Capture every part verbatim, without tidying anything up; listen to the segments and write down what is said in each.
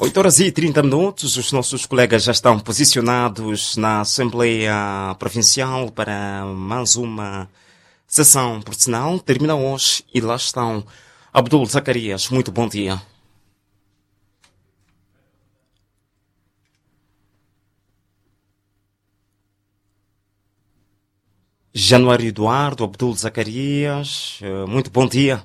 Oito horas e trinta minutos, os nossos colegas já estão posicionados na Assembleia Provincial para mais uma sessão por sinal. Termina hoje e lá estão Abdul Zacarias. Muito bom dia. Januário Eduardo, Abdul Zacarias, muito bom dia.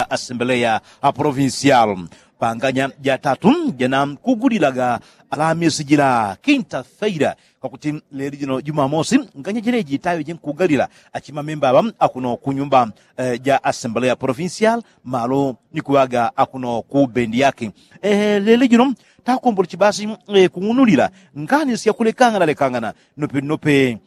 Asembleya provincial panganya jatatu jana kugulila ga alamisi jila kinta feila, kwakuti leli jino jumamosi nganya jeleji tayo jenkugalila achimamemba aŵa akuno kunyumba ja asembleya provincial malo nikuŵaga akuno ku bendi yake. Leli jino takombole chibasi kung'unulila ngani syakulekangana lekangana nope nope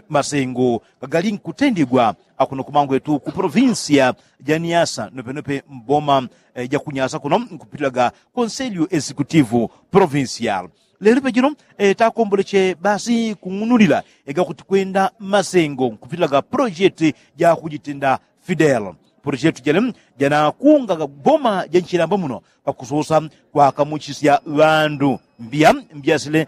masengo gagali nkutendigwa akuno kumangwetu ku provincia ja niasa nope nope mboma ja kunyasa kuno nkupitilaga konselio executivo provincial. Lelo pejino takomboleche basi kung'unulila egakuti kwenda masengo nkupitilaga projeti ja kujitenda fidel. Projeti jele janakungaga boma ja nchilamba muno pakusosa kwakamuchisya ŵandu mbia mbia sile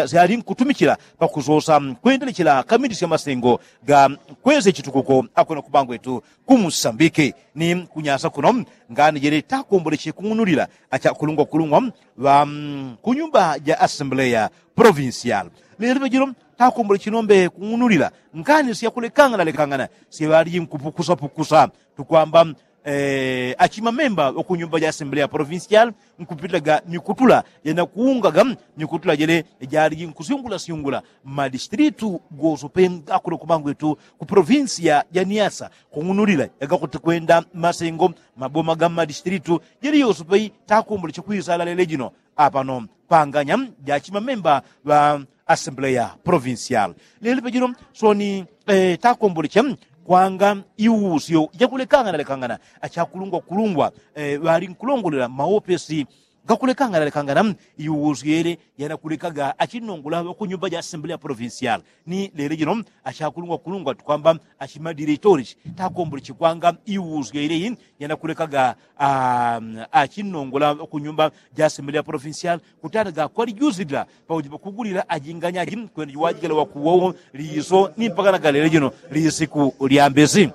syali nkutumichila pakusosa kwendelechela kamilisya masengo ga kwese chitukuko akuno kubangwetu kumusambike ni kunyasa kuno. Ngani jele takomboleche kung'unulila achakulungwa kulungwa ŵa kunyumba ja asembleya provincial. Lelo pejino takomboleche nombe kung'unulila ngani syakulekangana lekangana syaŵaliji nkupukusa pukusa tukwamba achimamemba ŵakunyumba ja asembleya provincial nkupitilaga mikutula janakuungaga mikutula jele jaliji nkusyungula syungula mmadistritu gosope akuno kumangwetu ku provincia ja niasa kung'unulila egakuti kwenda masengo maboma ga mmadistritu jele yosope takomboleche kwisala lelo jino apano panganya jachimamemba ŵa asembleya provincial. Lelo pejino soni takomboleche kwanga iusyo jakulekangana lekangana achakulungwa kulungwa ŵali nkulongolela maopesi gakulekangana lekangana iusyo yele yanakulekaga achinongola ŵakunyumba ja asembleya provincial. Ni lelo jino achakulungwa kulungwa tukwamba achimadiretori takomboleche kwanga iusyo yele yanakulekaga achinongola ŵakunyumba ja asembleya provincial kutanaga kwalijusilila pakuti pakugulila ajinganyaji kwenda juwajikila wakuwowo liso ni mpaka nagalele jino lisiku lyambesi.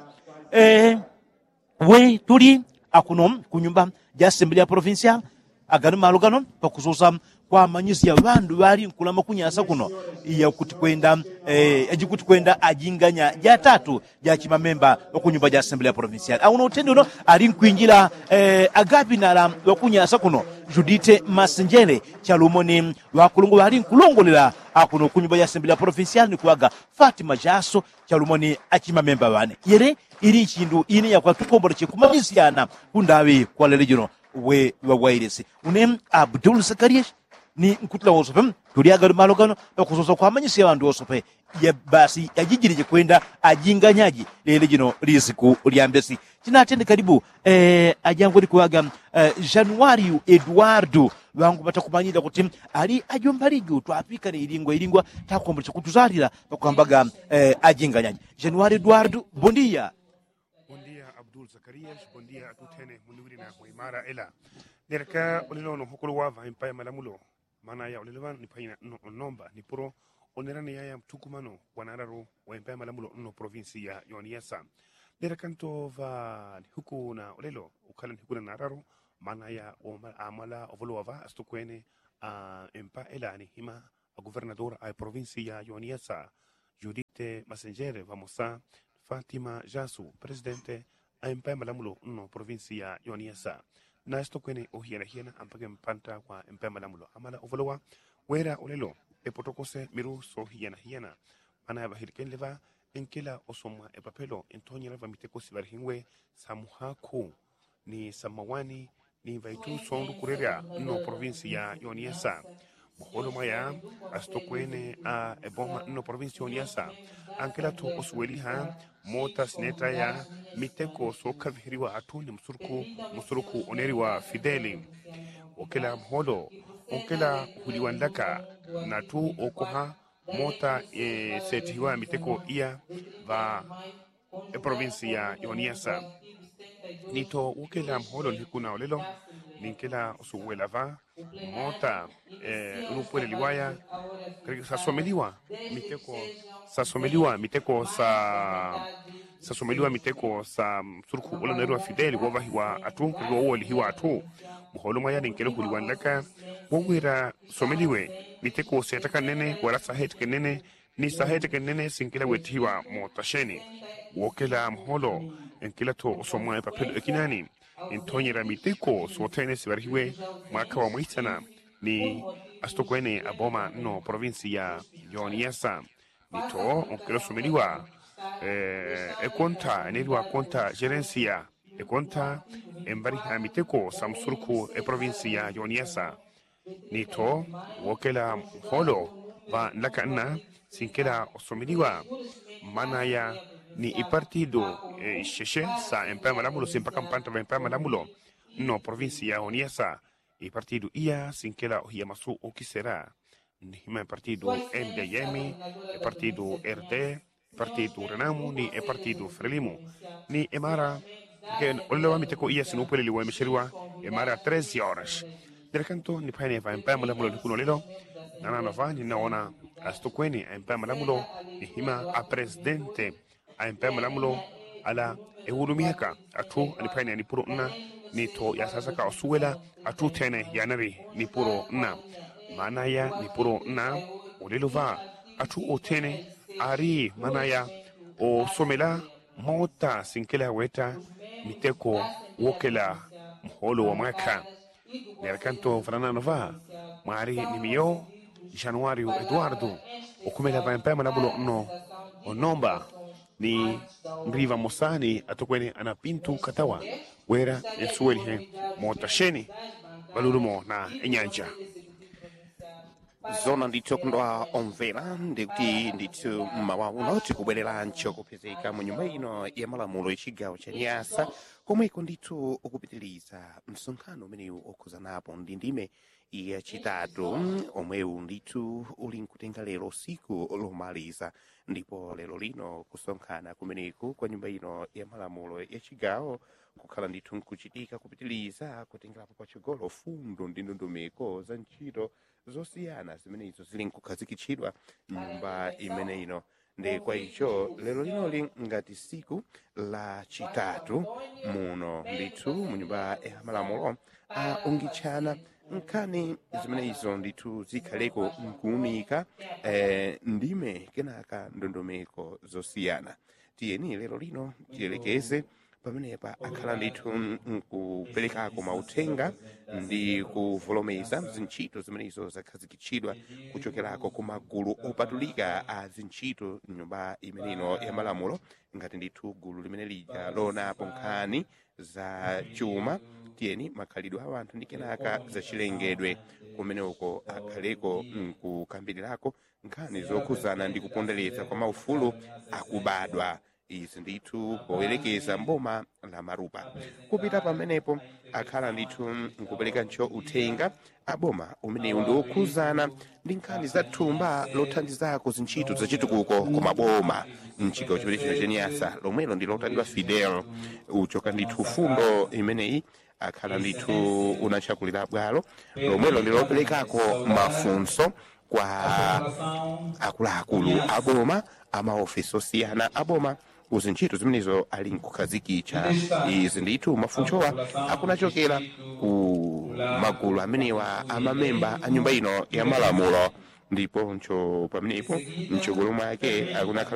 We tuli akuno kunyumba ja asembleya provincial agano malo gano pakusosa kwamanyisya ŵandu ŵali nkulama kunyasa kuno yakuti kwenda ajikuti kwenda ajinganya jatatu jachimamemba ŵakunyumba ja asembleya provincial auno utende uno ali nkwinjila agapinala ŵakunyasa kuno judite masenjele chalumo ni ŵakulungwa ŵali nkulongolela akuno kunyumba ja asembleya provincial nikuŵaga fatima jaso chalumo ni achimamemba ŵane yele ili ichindu ine yakwa tukomboleche kumanyisyana kundaŵi kwa lelo jino. We ŵawailesi une abdul sakariyeshi ni nkutula wosope tuli agano malo gano pakusosa kwamanyisya ŵandu wosope basi yajijilije kwenda ajinganyaji lelo jino lisiku lyambesi. Chinatende kalibu ajangwe likuŵaga januario eduardo ŵangu ŵatakumanyila kuti ali ajomba liju twapikane ilingwa ilingwa takomboleche kutuzalila pakwambaga ajinganyaji. Januario eduardo bondia. Bondia abdul zakarias bondia atutene muniwilina mwaimara ela. Nereka ulilo no hokolo wava empaya malamulo mana ya ulilo ŵanu nipaina nomba nipuro. Onerane yaya mtukumano wanararo wa empaya malamulo nno provinsi ya yoniasa. Nereka nto ŵa nihuku na ulilo ukhala nihuku na nararo mana ya amala ovolowa ŵa asitokwene a empa ela nihima aguvernador a provinsi ya yoniasa judite masenjere ŵamosa fatima jasu presidente a empaya malamulo nno provinsi ya yoniasa. Nasitokwene ohiyana hiyana ampake mpanta kwa empaya malamulo amala ovolowa wera olelo epotokose miru sohiyana hiyana. Mana ya ŵahilikenle ŵa enkela osomwa epapelo entonyela ŵa miteko siŵalihinwe samuhaku ni samawani ni ŵaitu sondu kurerya nno provinsi ya yoniasa. Muholo mwaya asitokwene a eboma nno provinsi ya yoniasa. Ankela tu osuweliha mota sinetaya miteko sokhavihiliwa atu ni musuruku musuruku oneliwa fideli. Okela muholo onkela uhuliwa ndaka natu okoha mota setihiwa miteko iya ŵa provinsi ya yoniyasa. Nito wokela mholo nihikuna olelo ninkela usuwela va mota unupweleli waya sasomeliwa miteko sasomeliwa miteko sa sasomeliwa miteko sa msurukhu ula nairwa fideli wovahiwa atu kaliwa wowelihiwa atu. Mholo mwaya ninkela uhuliwa nlaka wowera someliwe miteko setaka nnene wala saheteke nnene ni saheteke nnene sinkela wetihiwa mota sheni. Wokela mholo nkela to usomwa epapelo ekinani nthonyera miteko sothene sibarihiwe mwaka wa mwisana ni asitokwene aboma nno provinsi ya yoniyasa. Nito nkela usomeliwa ekonta eneliwa konta jerensia ekonta embariha miteko sa msurukhu eprovinsi ya yoniyasa. Nito wokela mholo va nlaka nna sinkela osomeliwa manaya ni ipartidu isheshe sa empaya malamulo simpaka mpanta va empaya malamulo nno provinsi ya oniasa. Ipartidu iya sinkela ohiya masu okisera nihima epartidu mdm epartidu rd epartidu renamu ni epartidu frelimu ni emara. Olelo va miteko iya sinupweleliwa emesheliwa emara tres horas. Nelekanto niphwaene va empaya malamulo nikuno lelo nanano va ninaona asitokwene a empaya malamulo nihima apresidente a empaya malamulo ala eulumihaka athu aniphwaene anipuro nna nito yasasaka osuwela athu thene yanali nipuro nna. Manaya nipuro nna olelo va athu othene ali manaya osomela mota sinkela weta miteko wokela mholo wa mwaka. Nelekanto vananano va mwali ni miyo januario eduardo okhumela va empaya malamulo nno onomba ni mliva mosani atokwene ana pintu katawa wela ensuwelihe mota sheni valulumo na enyanja. Zona ndithu okundwa omvela ndikuti ndithu mmawa uno tikubwelela nchokupezeka mu nyumba ino ya malamulo ya chigawo cha nyasa komweko ndithu ukupitiliza msonkhano umenewu okhuzanapo ndi ndime ya chitatu omwewu ndithu uli nkutenga lero siku lomaliza. Ndipo lero lino kusonkhana kumeneku kwa nyumba ino ya malamulo ya chigawo kukhala ndithu nkuchitika kupitiliza kutengelapo pachogolo fundo ndi ndondomeko za ntchito zosiyana zimenezo zili nkukhazikitchidwa mnyumba imene ino. Nde kwa icho lero linoli ngati siku la chitatu muno ndithu mu nyumba ya malamulo aungitchana nkhani zimenezo ndithu zikhaleko nkuunika ndime kenaka ndondomeko zosiyana. Tiyeni lero lino tilelekeze pamenepa akhala ndithu nkupelekako mauthenga ndi kuvolomeza zintchito zimenezo zakhazikitchidwa kuchokerako ku magulu opatulika a zintchito mnyumba imeneno ya malamulo ngati ndithu gulu limene lija loonapo nkhani za chuma. Tiyeni makhalidwe a wanthu ndi kenaka zachilengedwe kumene uko akhaleko nkukambirirako nkhani zokhuzana ndi kupondereza kwa maufulu akubadwa. Izi ndithu powerekeza mboma la marupa kupita pamenepo akhala ndithu nkuperekancho uthenga aboma umenewu ndi wokhuzana ndi nkhani za thumba lothandizako zintchito zachitukuko ku maboma mchigawo chimene chino cha nyasa lomwelo ndi lotandidwa fidel uchoka ndithu fundo imeneyi akhala ndithu unatchakulira bwalo lomwelo ndi loperekako mafunso kwa akuluakulu aboma amaofesi osiyana aboma kuzintchito zimenezo ali nkukhazikitcha. Izi ndithu mafunsowa akunachokera ku magulu amenewa amamemba a nyumba ino ya malamulo ndiponcho pamenepo mchogolo mwake akunakhala